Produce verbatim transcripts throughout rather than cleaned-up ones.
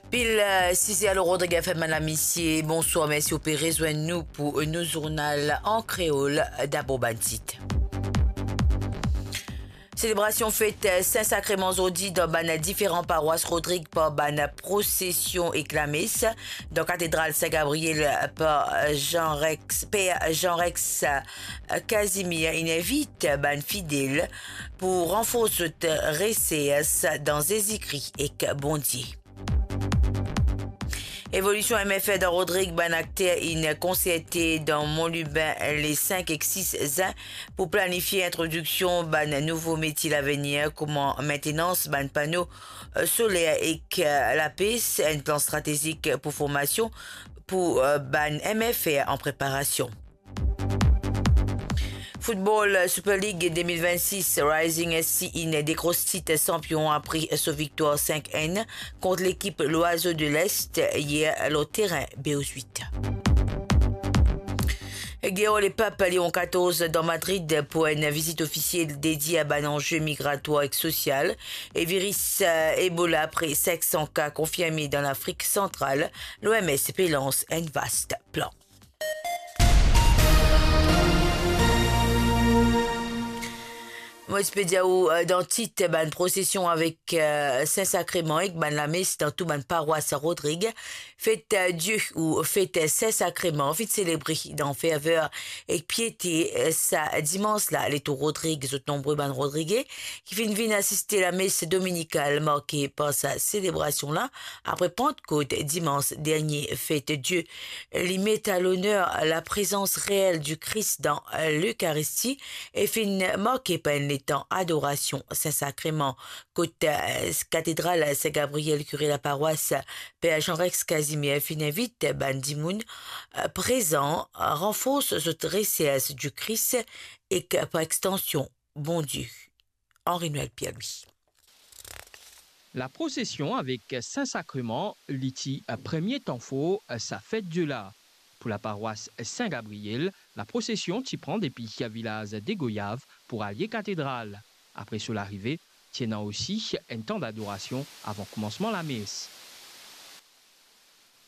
Pil, eh, size. Alo Rodrig F M, madam, misie, bonswar, mersi ou pe rezwenn nou pou nou zournal an kreol. Dabor bann tit. Selebrasion fet, eh, Sin Sakreman zordi dan bann diferan parwas Rodrig par bann prosesion ek lames. Dan katedral Sin Gabriel, eh, par Jean Rex, Per Jean Rex, eh, Casimir inn invit bann fidel pou ranfors zot resers dan Zezi Kri ek Bondie. Evolision M F R dan Rodrig, bann akter inn konserte dan Mont Lubin le sink ek sis zin pou planifie introdiksion bann nouvo metie lavenir, kouma maintenans bann pano, eh, soler ek, eh, lapes, enn plan stratezik pou formasion pou, eh, bann M F R an preparasion. Football Super League de mil vennsis, Rising S C inn dekros tit sanpion apre so viktwar sink enn kont lekip L'Oiseau de l'Est yer lor terin B O huit. Guerre au Pape Léon quatorze dan Madrid pou enn vizit ofisiel dedie a bann anze migratwar ek sosial e viris, eh, Ebola, apre sink san ka konfirme dan Lafrik Santral, l'O M S pe lans enn vast plan. Mo ti pe dir ou, eh, dan tit, bann prosesion avek, eh, Sin Sakreman ek bann lames dan tou bann parwas Rodrig. Fet, eh, Die ou fet Sin Sakreman finn selebre dan ferver ek piete, eh, sa dimans la. Letour Rodrig, zot nonbre bann Rodrige ki finn vinn asiste lames dominikal marke par sa selebrasion la apre Pantkot dimans dernie. Fet Die li met a loner laprezans reel di Kris dan Lekaristi e finn marke par enn letan adorasion Sin Sakreman, kot, eh, katedral Sin Gabriel, kire laparwas Per Jean Rex Casimir finn invit bann dimoun, eh, prezan ranfors zot resers di Kris ek par extansion Bondie. Henri Noël Pierre-Louis. Laprosesion avek Sin Sakreman, li ti premie tan for sa fet Die la. Pou laparwas Sin Gabriel, laprosesion ti pran depi vilaz Degoyav pou al Katedral. Apre so larive, ti ena osi enn tan dadorasion avan koumansman lames.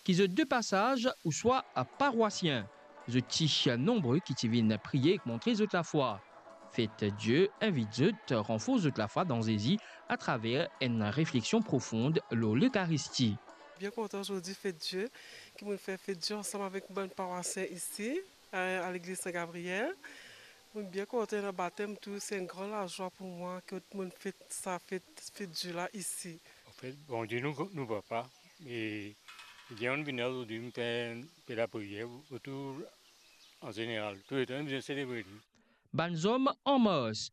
Ki zot de pasaz ouswa parwasien, zot ti nonbre ki ti vinn priye ek montre zot lafwa. Fet Die invit zot ranfors zot lafwa dan Zezi atraver enn refleksion profon lor Lekaristi. Bien kontan zordi fet Die, ki mo'nn fer fet Die ansam avek bann parwasien isi, a, a legliz Sin Gabriel. Mo'nn bien kontan, ena batem tou, se enn gran lazwa pou mwa ki mo'nn fet sa fet, fet Die la isi. Anfet, Bondie nou, nou papa, e, e bien, nou vinn la zordi, nou fer enn pe lapriyer pou tou, an zeneral, touletan nou bizin selebre li. Bann zom an mars,